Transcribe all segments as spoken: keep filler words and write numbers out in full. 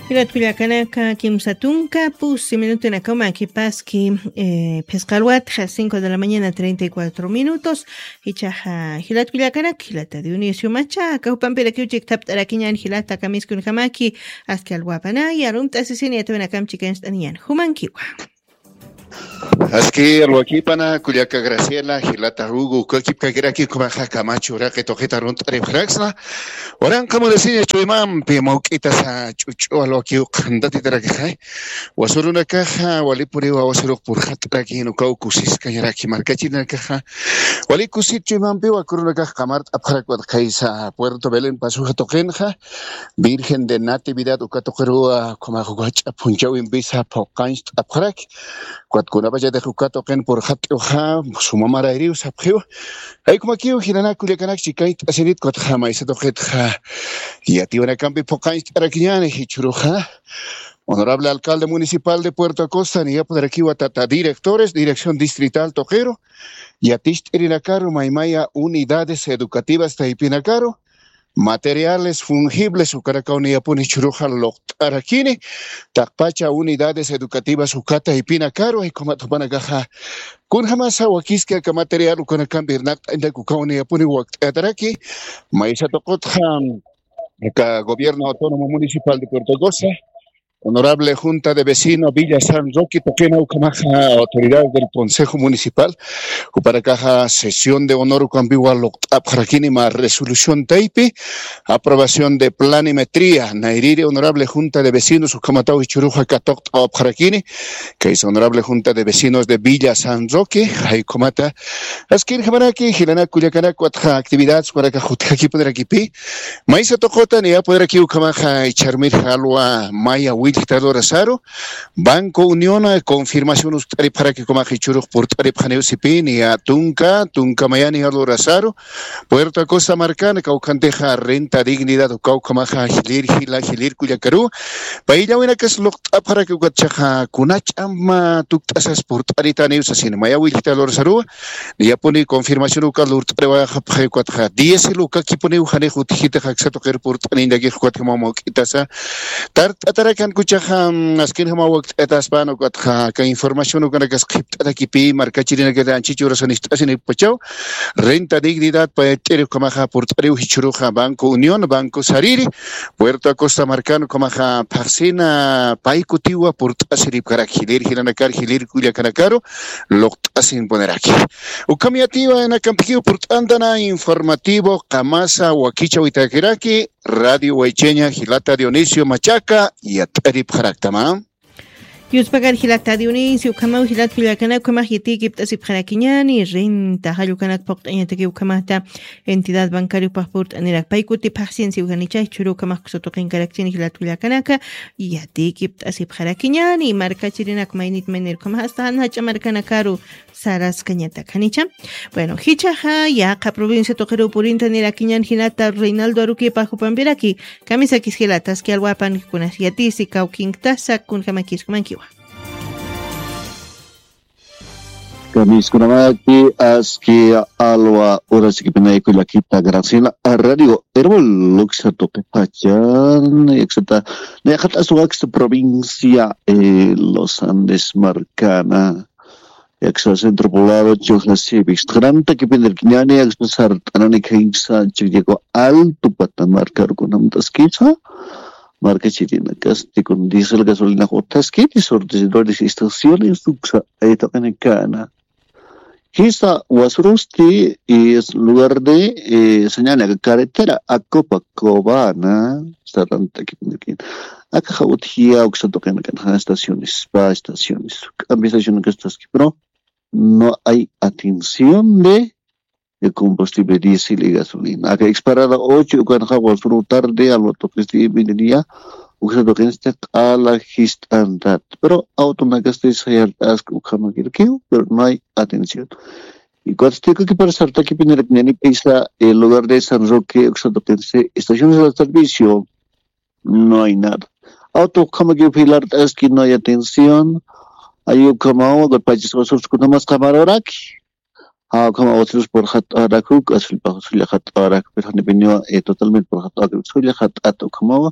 Jilat kullakanaka, kimsa tunka pusi minutunakaw makipaski, eh, phisqa alwatxa, cinco de la mañana, treinta y cuatro minutos. Ichaxa, jilat kullakanaka, jilata Dionisio Machaca, jupampirakiw chikt'apt'arakiñän jilata kamiskunkamaki, aski alwapanaya, arumt'asisini yatawinakamp chikancht'aniñän. Jumankiwa. Aski alwakipana, kullaka Graciela, jilata Hugo, ukakipkakiraki ukhamaxa Camacho uraqi tuqita arunt'aripxaraksna. Waranqa munisiña chuymampi mawk'itasa ch'uch'u alwakiw qhantatitarakixa. Wasürunakaxa walipuniwa wasürux purxat'arakin ukaw kusiskañaraki markachirinakaxa. Wali kusit chuymampiwa kurunakax qamart'apxarak watxaysa Puerto Belén pasuxa tuqinxa. Virgen de Natividad uka tuqiruwa, ukhamax uka jach'a phunchhäwimpisa phuqancht'apxaraki. Ukat kunapachatix uka tuqin purxat'iwxa, suma marayriw sapxiw. Jay ukhamakiw jilanak kullakanak chikañcht'asinit, ukatxa maysa tuqitxa yatiwanakampi phuqancht'arakiñäni jichhüruxa. Honorable alcalde municipal de Puerto Acosta, niyapxarakiwa tata directores, dirección distrital tuqiru, yaticht'irinakaru maymaya unidades educativas taypinakaru, materiales fungibles ukanakaw niyapuni jichhüruxa luqt'arakini, taqpacha unidades educativas uka taypinakaru, jay ukhamat jupanakaxa kunjamasa wakiski aka material ukanakampi irnaqt'añatak ukaw niyapuni wakt'ayataraki, maysa tuqitxa aka gobierno autónomo municipal de Puerto Acosta, honorable Junta de Vecino Villa San Roque tuqina ukhamaxa autoridades del Consejo Municipal, jupanakaxa sesión de honor ukampiwa luqt'apxarakini mä resolución taypi, aprobación de planimetría, nayrïri honorable Junta de Vecinos ukhamataw jichhüruxa katuqt'awapxarakini, kaysa honorable Junta de Vecinos de Villa San Roque, jay ukhamata, askirjamaraki, jilanak kullakanak, ukatxa actividades jupanakax utjakipunarakipï, maysa tuqita niyapxarakiw ukhamaxa, jichhürmir jalwa maya willjta lurasaru, Banco Unión, eh, confirmación ukt'aripxaraki ukhamax jichhürux purt'aripxaniw sipï, niya tunka, tunka mayani lurasaru, Puerto Acosta markan, kawkhantixa renta dignidad ukaw ukhamaxa, jilïr jila, jilïr kullakaru, payllawinakas luqt'apxaraki ukatchaxa, kuna ch'ama tukt'asas purt'aritaniw sasina, maya willjta lurasaruwa, niyapuni confirmación uka lurt'ariwayapxi ukatxa, diésel ukakipuniw janix utjkitix aksa tuqir purt'aniñatakix ukatjamaw mawk'itasa, tart'atarakan kuchaxa, mm, askinjamaw wakt'ayataspan ukatxa, aka información ukanakas qhipt'atakipï, markachirinakar anchhich urasan ist'asinippachaw, renta dignidad payt'iri ukhamaxa purt'ariw jichhüruxa Banco Unión, Banco Sariri, Puerto Acosta markan ukhamaxa phaxsina pay kutiwa purt'asiripkarak jilïr jilanakar jilïr kullakanakaru, luqt'asinpuniraki. Ukham yatiwa nakampikiw purt'antana informativo, qamasa wakichäwitakiraki, Radio Waycheña, jilata Dionisio Machaca, yat'aripxaraktama. Yuspakar jilata Dionisio, ukhamaw jilat kullakanak, ukhamax yatiykipt'asipxarakiñäni, renta, jallukanak phuqt'añataki ukhamata, entidad bancario upax purt'anirak, pay kuti phaxsin siw janicha, jichhüru ukhamax uksa tuqinkarakchini jilat kullakanaka, yatiykipt'asipxarakiñäni, markachirinak maynit maynir ukhamax, hasta jan jach'a markanakaru, saraskañatak, janicha. Bueno, jichhaxa, yaqha provincia tuqiruw purintanirakiñän jilata Reinaldo Aruquipa jupampiraki, kamisakis jilata, aski alwapan kunas yatisi kawkinktasa, kunjamakis jumankiwa. Kamiskunamaki, aski alwa urasikipinay kullakita Graciela, Radio Erbol, uksa tuqipachan, yaksata, nayxat'as waksa provincia, eh, Los Andes markana. Yaksa Centro Poblado, Choja Civics. Qhanantakipinirkiñäni, yaksa sart'anani khaysa, Chillako Alto, Patamarca, rukunamtaskisa. Markachirinakasti kun diésel gasolina utjaskiti, surtidores, estaciones, uksa, aytaqinakana. Jisa, wasurusti, y es lugar de, eh, señal, carretera, Acopa, Cobana, sart'antakipinirkiñäni. Akaxa utjiya uksa tuqinakan, estaciones, spa estaciones. K'ampi estaciones, pero no hay atención de, de combustible diésel y gasolina. Aka exparada ocho, ukanxa wasuru tarde, alwa tuqisti, mediodía, uksa tuqinsti q'ala jist'antat. Pero autonakasti sayart'ask ukhamakirkiw, pero no hay atención. Y cuando estoy aquí para sart'akipinirkiñäni, pisa, el lugar de San Roque, uksa tuqinsti, estaciones de servicio, no hay nada. Auto ukhamakiw filart'aski, no hay atención. Ay ukhamaw, pachis wasurus kunamas qamaruraki. Ah, ukhamaw wasurus purxat'arak, gasolina purxat'arak, pero janipiniwa, eh, totalmente purxat'arak, gasolina purxat'at ukhamaw,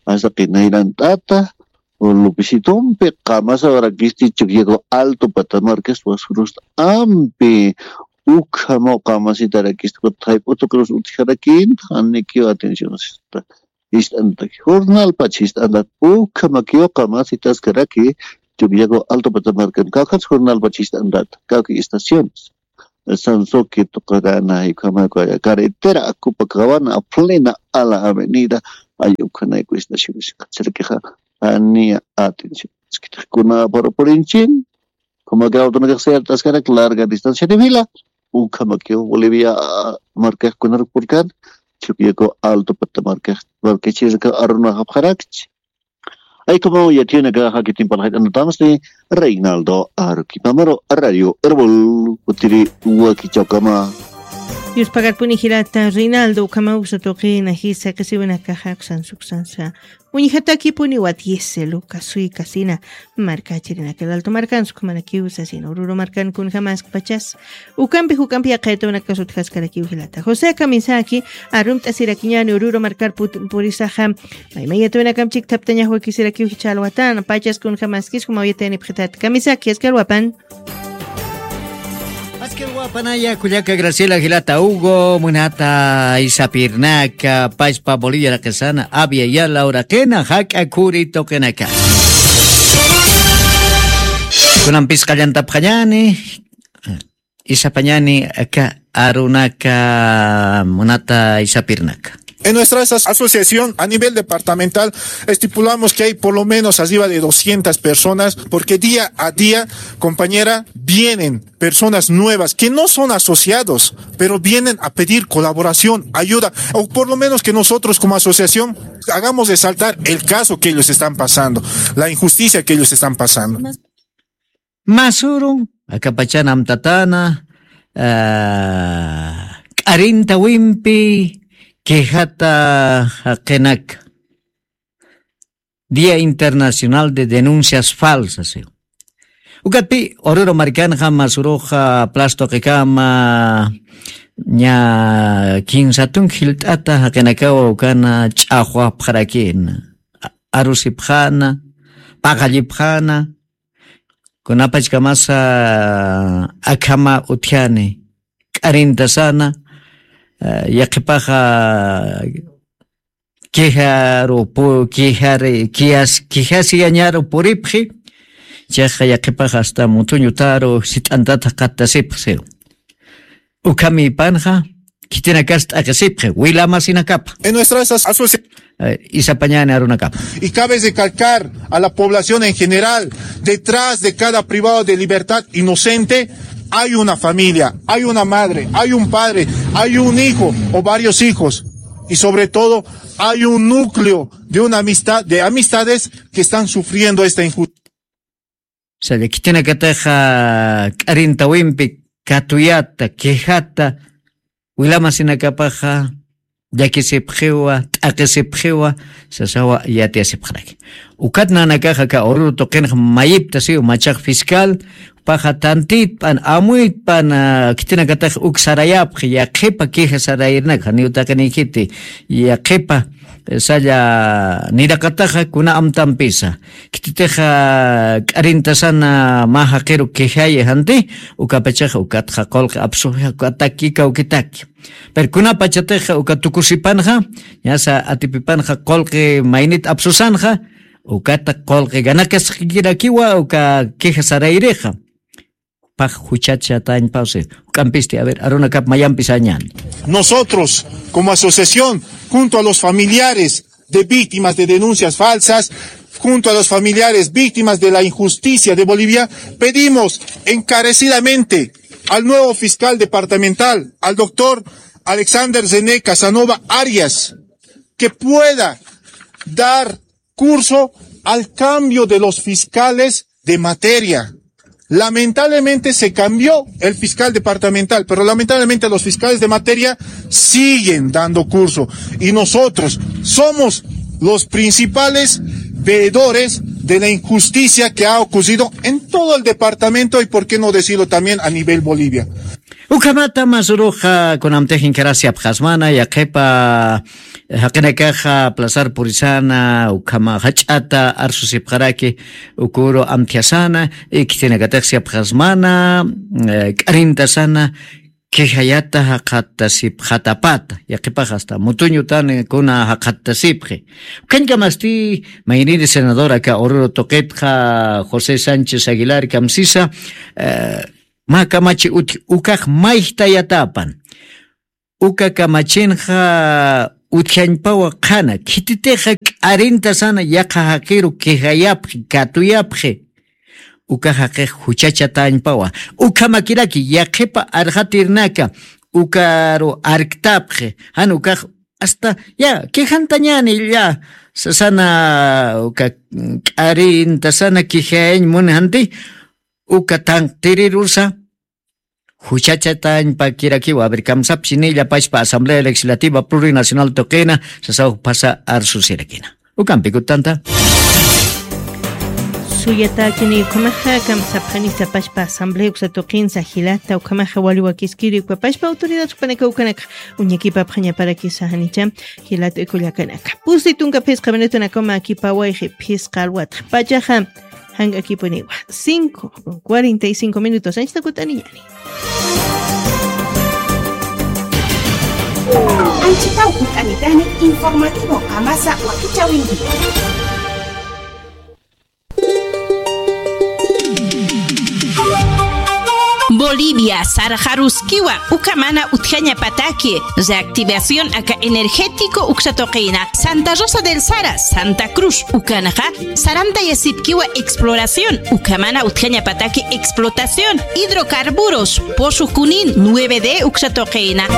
Asaqi nayrant'ata, o Lupisitumpi, qamasaw rakisti Chukiyaku Alto Patamarcas, waskurusta ampi, ukhamaw qamasita rakisti, kutayp'utu cruz utjarakint, janikiw atención sista. Jist'antaki, jornal pach jist'antat, ukhamakiw qamasitaskaraki, Chukiyaku Alto Patamarcan, kawkhat jornal pach jist'antat, kawki estaciones. Sansoki tuqarana, ukhamaku carretera, Copacabana, a plena ala avenida, ay ukhanayku estaciones, kacharakixa, janiya atención. Iskitxkuna para purinchin, Ukhamakiw awtunakax sayart'askarak larga distancia de fila. Ukhamakiw Bolivia, ah, markax kunar purkan, Chukiyaku Alto Pata markax, markachirka arunapxarakchi. Ay, como ya tiene que dejar que tiempo la gente no estamos ni Reinaldo Aruquipamaro, Radio Árbol, utiri, uwaki chawkama. Dios pagarpuni jirata, Reinaldo, ukhamaw usa tuqina, jisa, qisiwinakaxa, kusan, suksan, sa. Uñjatakipuniwa diésel uka suykasina markachirinaka, Alto markan, sukhamanakiw sasina, Oruro markan kunjamaskpachas. Ukampi, ukampi yaqhaytawanakas utjaskarakiw jilata. José Kamisaki, arumt'asirakiñani Oruro markar put-, purisaxa, maymayatawanakamp chikthaptañax wakisirakiw jichha alwatana, pachas kunjamaskis, jumawyatanipxitat Kamisaki, askar wapan. Askar wapanaya, kullaka Graciela, jilata Hugo, munata Isapirnaka, pachpa Bolivia raqisana, Abya Yala uraqina, jak'a khuri tuqinaka. Kunampis qallantapxañani, isapañani aka arunaka, munata Isapirnaka. En nuestra as-, asociación a nivel departamental estipulamos que hay por lo menos arriba de doscientas personas, porque día a día, compañera, vienen personas nuevas que no son asociados, pero vienen a pedir colaboración, ayuda, o por lo menos que nosotros como asociación hagamos resaltar el caso que ellos están pasando, la injusticia que ellos están pasando. Masuru, akapachan amtatana, ah, k'arinta wimpi, quejata jaqinaka. Día Internacional de Denuncias Falsas, eh. Ukatpi, Oruro markanxa, masuruxa, plastoqikama, ña kinsa tunka jilt'ata jaqinakawa ukana ch'axwapxarakina, a-, arusipxana, paqallipxana, kunapachkamasa akhama utjani, k'arintasana, eh, yaqhipaxa quejaru pu-, quejari-, quejas-, quejasiyañaru puripxi, chayqa yaqhipax hasta mutuñutaru sit'antata qattasipxi. Ukhamipanxa, khitinakas t'aqisipxi, wilamasinakapa. En nuestras as-, asocia- Eh, isapañani arunakapa. Y cabe recalcar a la población en general, detrás de cada privado de libertad inocente hay una familia, hay una madre, hay un padre, hay un hijo o varios hijos. Y sobre todo, hay un núcleo de una amistad, de amistades que están sufriendo esta injusticia. Saya, khitinakataxa k'arintawimpi katuyata, quejata, wilamasinakapaxa llakisipxiwa, t'aqisipxiwa, sasawa yatiyasipxaraki. Ukat nanakaxa aka Oruro tuqinxa mayiptasiw machax fiscal, paxa tantitpan, amuytpan, ah, khitinakatax uk sarayapxi, yaqhipa queja sarayirnak, janiw taqinikhiti, yaqhipa, eh, saya niraqataxa kuna amtampisa. Khititixa k'arintasana mä jaqiru quejayi janti, ukapachaxa ukatxa qullqi apsuxi, ukataki kawkitaki. Pero kunapachatixa uka tukusipanxa, ñasa atipipanxa qullqi maynit apsusanxa, ukata qullqi ganakasqikirakiwa uka queja sarayrixa. Pax juchachatañpawsi, juk'ampisti, a ver, arunakap mayampi sañan. Nosotros, como asociación, junto a los familiares de víctimas de denuncias falsas, junto a los familiares víctimas de la injusticia de Bolivia, pedimos encarecidamente al nuevo fiscal departamental, al doctor Alexander René Casanova Arias, que pueda dar curso al cambio de los fiscales de materia. Lamentablemente se cambió el fiscal departamental, pero lamentablemente los fiscales de materia siguen dando curso. Y nosotros somos los principales veedores de la injusticia que ha ocurrido en todo el departamento y, por qué no decirlo, también a nivel Bolivia. Ukhamata masuruxa kunamtix inkarasipxasmana, yaqhipa jaqinakaxa plazar purisana, ukhama jach'ata arsusipxaraki, ukuru amthiasana, y khitinakatix sipxasmana, eh, k'arintasana, quejayata jaqatasipxatapata, yaqhipax hasta mutuñutan kuna jaqatasipxi. Ukhañkamasti, mayniri senador aka Oruro tuqitxa, José Sánchez Aguilar kamsisa, eh, mä kamachi utji, ukax mayjtayatapan. Uka kamachinxa utjañpawa qhana, khititixa k'arintasana yaqha jaqiru quejayapxi, katuyapxi. Uka jaqix juchachatañpawa. Ukhamakiraki, yaqhipa arxatirnaka, ukaru arktapxi. Jan ukax hasta, ya, quejantañani, ya, sasana, uka, k'arintasana quejayañ muni janti, uka tanqtirirusa, juchachatañpakirakiwa. A ver, kamsapxi nilla pachpa Asamblea Legislativa Plurinacional tuqina, sasaw phasa arsusirakina. Ukampi kutanta. Suyatäkini ukhamaxa, kamsapxani sapachpa Asamblea uksa tuqinsa jilata, ukhamaxa wali wakiskiri ukapachpa autoridad jupanaka ukanaka uñakipapxañaparakisa janicha, jilata kullakanaka. Pusi tunka phisqa minutunakaw mä kipawayxi phisqa alwatxa. Pachaxa jank'akipuniwa. Cinco con cuarenta y cinco minutos. Anchita kut'aniñani. Anchitaw kut'anitani informativo qamasa wakichäwinkiwa. Bolivia, sarxaruskiwa, uka mana utjañapataki, reactivación aka energético uksa tuqina, Santa Rosa del Sara, Santa Cruz, ukanxa, sarantayasipkiwa exploración, uka mana utjañapataki explotación, hidrocarburos, pozo Junín, nueve D uksa tuqina.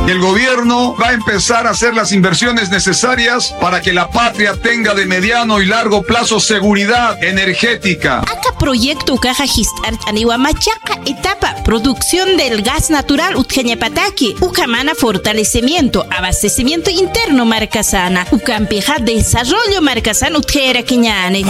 El gobierno va a empezar a hacer las inversiones necesarias para que la patria tenga de mediano y largo plazo seguridad energética. Aka proyecto ukaxa jist'arch'aniwa machaqa etapa, producción del gas natural utjañapataki, uka mana fortalecimiento, abastecimiento interno markasana, ukampixa desarrollo markasana utjayarakiñani.